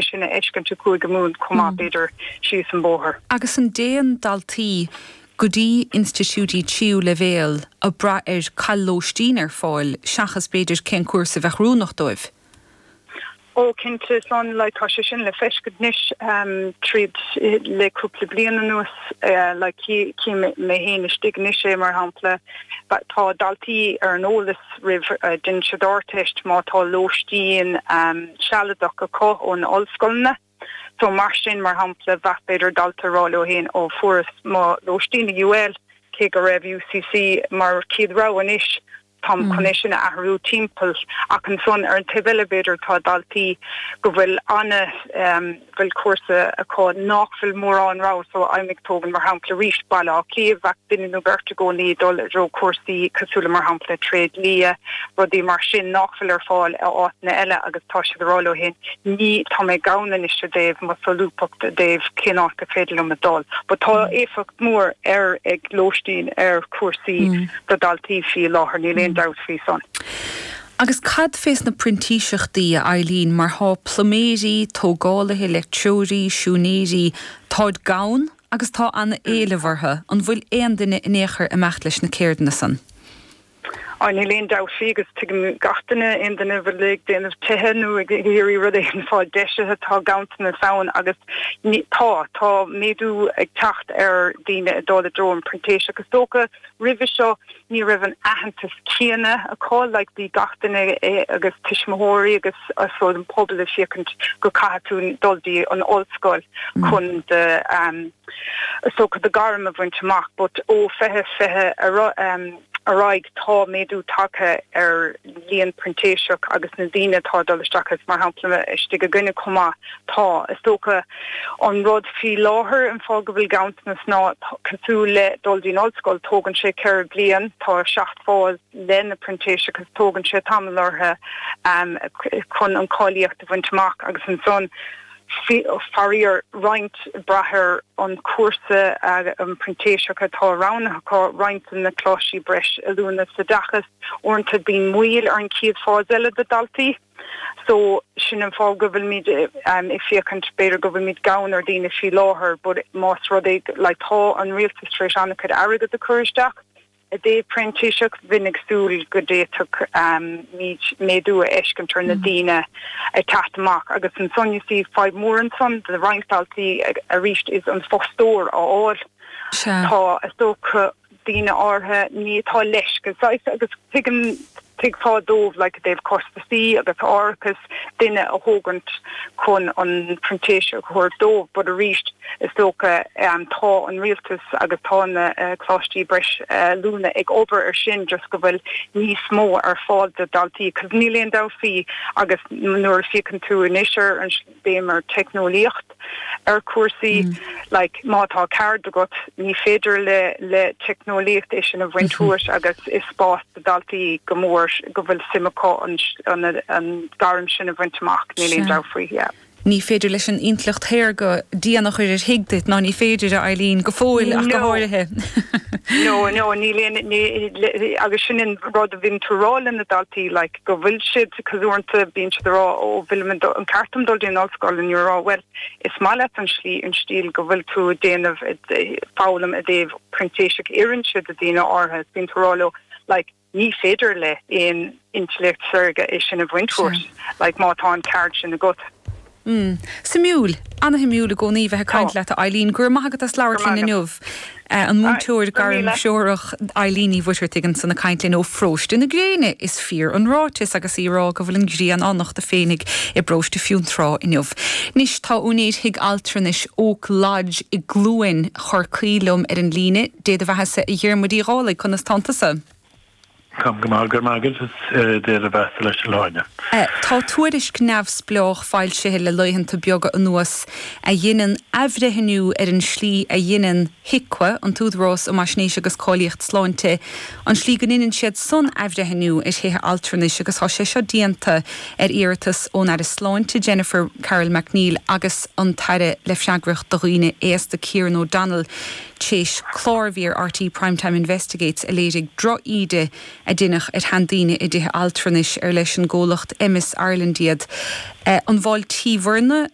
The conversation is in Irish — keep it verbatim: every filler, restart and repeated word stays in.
Sin a fheiscint i gCúige Mumhan chomh maith, b'fhéidir, síos an bóthar. Agus an dtéann daltaí go dtí institiúidí tríú leibhéal ag brath ar cá bhfuil lóistín ar fáil seachas b'fhéidir cén cúrsa a bheadh oiriúnach dóibh? Ó cinnte, san like tá sé sin le feiscint anois um, tríd le cúpla bliain anuas, uh, like cím mé féin istigh anois é, mar shampla, tá daltaí ar an eolas roimh uh, den siad Ardteist má tá lóistín um, sealadach acu ón ollscoileanna. So mar sin, mar shampla, bheadh b'fhéidir dalta ag rá leo féin, "Ó, fuaireas mo lóistín i U L, cé go raibh U C C mar chéad rogha, anois táim mm. chun é sin a athrú timpeall." Ach ansan ar an taobh eile, b'fhéidir tá daltaí go bhfuil anna um, bhfuil cúrsa acu nach bhfuil mórán rogha, so I'm ag tógáil mar shampla arís Baile Átha Cliath, bheadh duine nó beirt i gcónaí dul i dtreo cúrsaí cosúil mar shampla tréidlia, rudaí mar sin nach bhfuil ar fáil a áiteanna eile, agus tá siad ag rá leo féin, "Ní tá mé gann anois i dtaobh mo solúbthacht i dtaobh cén áit go féidir liom a dul." But tá éifeacht mór ar ag lóistín ar cúrsaí mm. do daltaí faoi láthair, níl aon dabht faoi san. Agus cad fés na printíseachtaí, a Eileen, mar tá pluiméirí, tógálaithe, leictreoirí, siúinéirí, táid gann agus tá an-éileamh orthu? An bhfuil aon duine in aon chor imeacht leis na ceirdeanna san? Á, níl aon dabht faoi, agus tuigeann gach duine, aon duine a bhfuil ag déanamh tithe nó ag iarraidh rud éigin fáil deisithe, tá ganntanas ann agus tá tá méadú ag teacht ar daoine ag dul i dtreo an printéiseach. Is dócha roimhe seo ní raibh an aitheantas céanna acu, like bhí gach duine agus tuismitheoirí agus so an pobal ag féachaint go caithfidh tú dul dtí an ollscoil chun de um, so do gairm a bhaint amach, but ó fiche fiche ar um, ar aghaidh tá méadú tagtha ar líon printéiseach agus na daoine atá dul isteach, is mar shampla istigh againne chomh maith. Tá, is dócha, an rud faoi láthair, an fáth go bhfuil ganntanas ná cosúil le dul dtí'n ollscoil, tógann sé ceithre bliain, tá seacht fáil le na printéiseach agus tógann sé tamall orthu um, chun an cáilíocht a bhaint amach, agus ansan faraor roinnt brath ar an cúrsa an printéiseach atá roghnaithe, roinnt na coláistí breis oiliúna sa oideachas, uaireanta bíonn moill ar an chéad fáis eile de daltaí. So sin an fáth go bhfuilmid um, ag féachaint b'fhéidir go bhfuilmid gann ar daoine faoi láthair, but más rud é like, tá an rialtas tar éis an-chuid airgead a chur isteach i dtaobh printíseach, bheinn ag súil go dtiocfadh um, méadú a fheiscint ar na mm. daoine ag teacht amach. Agus ansan you see fadhb mór ansan de roinnt daltaí arís is an fostóir a fháil. Tá, is dócha, daoine áirithe ní tá leis agus tuigim, tuigfeá dóibh, like dtaobh costasaí agus árachas duine a thógaint chun an printéis a chur dóibh, but arís is dócha um, tá an rialtas agus tá na uh, coláistí breis uh, oiliúna ag obair ar sin just go bhfuil níos mó ar fáil do daltaí, cos níl aon dabht faoi, agus nuair a fhéachann tú anois ar an béim ar teicneolaíocht ar cúrsaí mm. like má tá ceird agat, ní féidir le le teicneolaíocht é sin a bhaint uait, agus is spás do daltaí go mór go bhfuil suim acu an, an, an gairm sin a bhaint amach, níl aon dabht faoi, yeah. Ní féidir leis an intleacht shaorga díon a chur ar thigh duit, ná ní féidir, a Eileen, go fóill ach go háirithe. No no ní agus sin an rud a bhíonn tú ag rá le na daltaí, like go bhfuil siad cosúil, bíonn siad ag rá, "Ó, bhfuil an ceart dul dtí'n ollscoil?" An rá, "Well, is maith leat an slí, an stíl go bhfuil tú déanamh foghlaim i dtaobh printéiseach oireann siad do daoine áirithe." Bíonn tú ag rá leo, like ní féidir le aon intleacht saorga é sin a bhaint uait, like má tá an ceird sin agat. Mm. Suimiúil, an-shuimiúil i gcónaí bheith ag caint leat, Eileen, gur maith agat as labhairt linn inniu. An múinteoir gairmthreorach Eileen Ní Mhuircheartaigh ansan ag caint linn ó Pharóiste na Gréine, is fíor an ráiteas agus í ag rá go bhfuil an ghrian á nochtadh féinig i bparóiste Fionntrá inniu. Anois tá úinéir thigh altranais Oak Lodge i gCluain Chorcaí liom ar an líne. Dé do bheathasa, a Dhiarmuid Uí Dhálaigh, conas tánn tusa? Táim go maith, go maith, Dé do bheatha leis an Áine. Tá tuairisc neamhspleách foilsithe le laethanta beaga anuas a dhéanann athbhreithniú ar an slí a dhéanann HIQA, an tÚdarás um Fhaisnéis agus Cáilíocht Sláinte, an slí go ndéanann siad san athbhreithniú ar thithe altranais, agus tá sé seo déanta ar iarratas ón Aire Sláinte Jennifer Carroll MacNeill agus an tAire le freagracht do dhaoine aosta Kieran O'Donnell, tar éis clár a bhí ar R T E Primetime Investigates a léirigh drochíde a deineadh ar sheandaoine i dtithe altranais ar leis an gcomhlacht Emis Ireland iad. An bhfáiltíobhairne